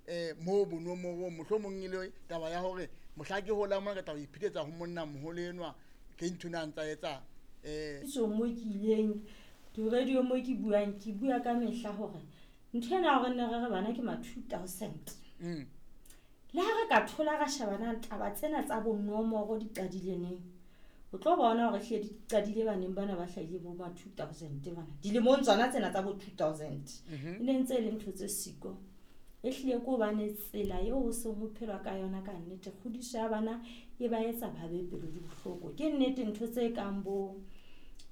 um moo bonomorong, mohlomong e le taba ya hore mohla ke holang mona ke tla ho iphetetsa ho monna moholo enwa ke ntho ena a ntsa etsang um. So mo ke ileng di-radio mo ke buang, ke bua ka mehla hore ntho ena ya hore nne re re bana ke ma 2000. Le ha re ka thola ra sheba na taba tsena tsa bonomoro di qadile neng, o tlo bona hore hlile di qadile baneng bana ba hlahile bo ma 2000 bana. Dilemong tsona tsena tsa bo 2000. E ne ntse e le ntho tse siko. E hlile ke hobane tsela eo ho seng ho phelwa ka yona ka nnete, kgodiso ya bana e ba etsa ba be pelo di bohloko. Ke nnete ntho tse kang bo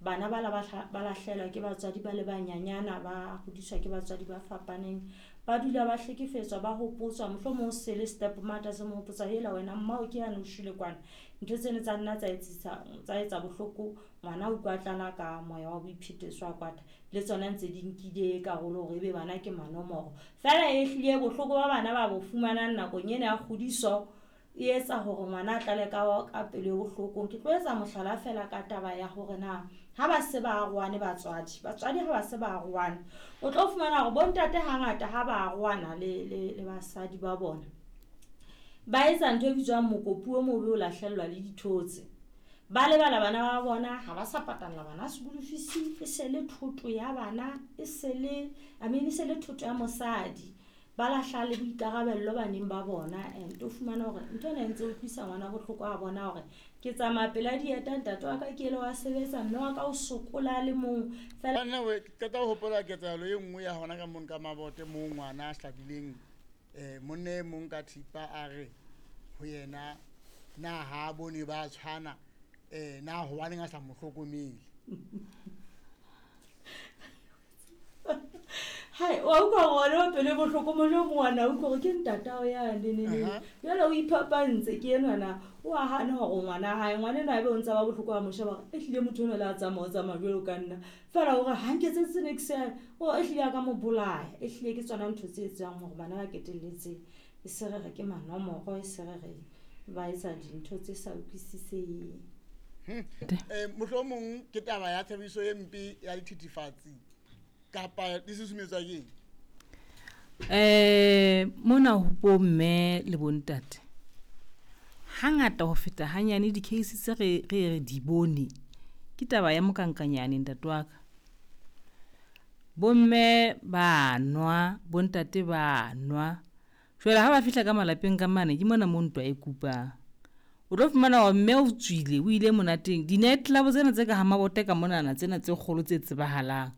bana ba la ba lahlelwa ke batswadi ba le banyanyana, ba hodiswa ke batswadi ba fapaneng, ba dula ba hlekefetswa, ba hopotswa, mohlomong se le step mother se mo hopotsa hela wena mmao ke yane o shwele kwana. Ntho tseno tsa nna tsa etsisa, tsa etsa bohloko, ngwana o utlwa tlala ka moya wa boiphetetso a kwata. Le tsona ntse di nkile karolo hore ebe bana ke manomoro. Feela e hlile bohloko ba bana ba bo fumanang nakong ena ya kgodiso e etsa hore ngwana a tlale ka pelo e bohloko. Ke tlo etsa mohlala fela ka taba ya hore na ha ba se ba arohane batswadi, batswadi ha ba se ba arohane, o tlo fumana hore bontate hangata ha ba arohana le basadi ba bona, ba etsa ntho e bitswang mokopu o mobe o lahlellwa le dithotse. Ba lebala bana ba bona, ha ba sa patalla bana school fees, e se le thoto ya bana, e se le, I mean, e se le thoto ya mosadi. Ba lahla le boikarabello baneng ba bona, and o fumana hore ntho ena e ntse utlwisa ngwana bohloko a bona hore ke tsamaya pela dieta, ntate wa ka ke ele wa sebetsa, mme wa ka o sokola le mong fela. Nna we, ke qeta ho hopola ketsahalo e nngwe ya hona ka mono ka Mabote moo ngwana a hlabileng monna e mong ka thipa a re ho yena na ha bone ba tshwana, na hobaneng a sa mo hlokomele. Hai, wa utlwa hore ngwana o pelo e bohloko, mohlomong ngwana o utlwa hore ke ntatao yane, ne, ne. Jwale o iphapantse ke enwa na, o a hana hore ngwana hae, ngwana enwa ebe o ntsa ba bohloko ha mo sheba hore ehlile motho enwa le a tsamaya, o tsamaya jwalo ka nna. Feela hore ha nketsetse niks ya, o ehlile a ka mo bolaya. Ehlile ke tsona ntho tse etsang hore bana ba ketelletse e se re re ke manomoro, e se re re ba etsa dintho tse sa utlwisiseheng. Mohlomong ke taba ya tshebediso e mpe ya dithethefatsi kapa di susumetswa ke eng? Mona ho bomme le bontate hangata ho feta hanyane di-case tse re di bone ke taba ya mokankanyane ntate wa ka. Bomme ba nwa, bontate ba nwa. Jwale ha ba fihla ka malapeng ka mane ke mona mo ntwa e kupang. O tlo fumana hore mme o tswile, o ile monateng. Di-night club tsena tse ka ha Mabote ka monana tsena tse kgolo tse tsebahalang.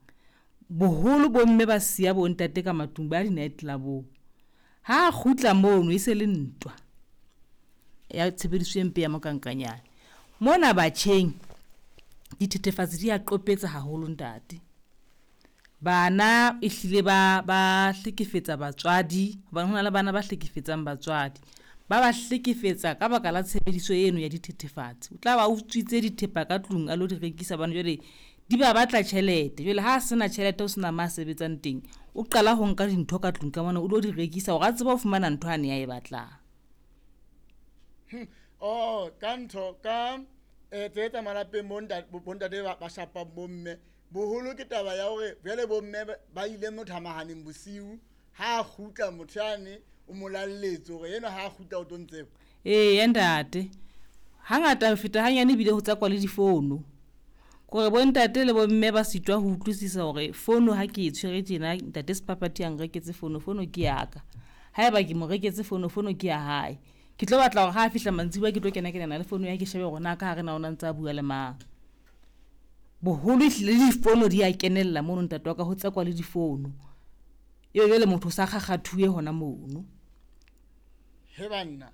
Boholo bomme ba siya bontate ka matlung ba di-night club-ong. Ha kgutla mono e se le ntwa ya tshebediso e mpe ya mokankanyane. Mona batjheng dithethefatsi di a qopetsa haholo ntate. Bana ehlile ba hlekefetsa batswadi, hobane hona le bana ba hlekefetsang batswadi. Ba ba hlekefetsa ka baka la tshebediso eno ya dithethefatsi. O tla ba utswitse dithepa ka tlung a lo di rekisa hobane jwale di ba batla tjhelete. Jwale ha sena tjhelete o sena ma sebetsang teng, o qala ho nka dintho ka tlung ka mona o lo di rekisa hore a tsebe ho fumana ntho ane a e batlang. Oh, ka ntho ka tse tsa malapeng bontate ba shapang bomme. Boholo ke taba ya hore jwale bomme ba ile mothamahaneng bosiu, ha a kgutla motho yane o mo lalletse hore enwa ha a kgutla o tlo ntseba. Ee, ntate. Hangata ho feta hanyane ebile ho tsakwa le difono. Kore bontate le bomme ba sitwa ho utlwisisa hore fono ha ke e tshwere tjena, ntate Sephaphathi a nreketse fono, fono ke ya ka. Haeba ke mo reketse fono, fono ke ya hae. Ke tlo batla hore ha a fihla mantsibuya ke tlo kena kenana le fono ya ke shebe hore na ka hare na o na ntse a bua le mang. Boholo ehlile le difono di a kenella mono ntate wa ka, ho tsekwa le difono. Ebe jwale motho o sa kgakgathuwe hona mono. He banna.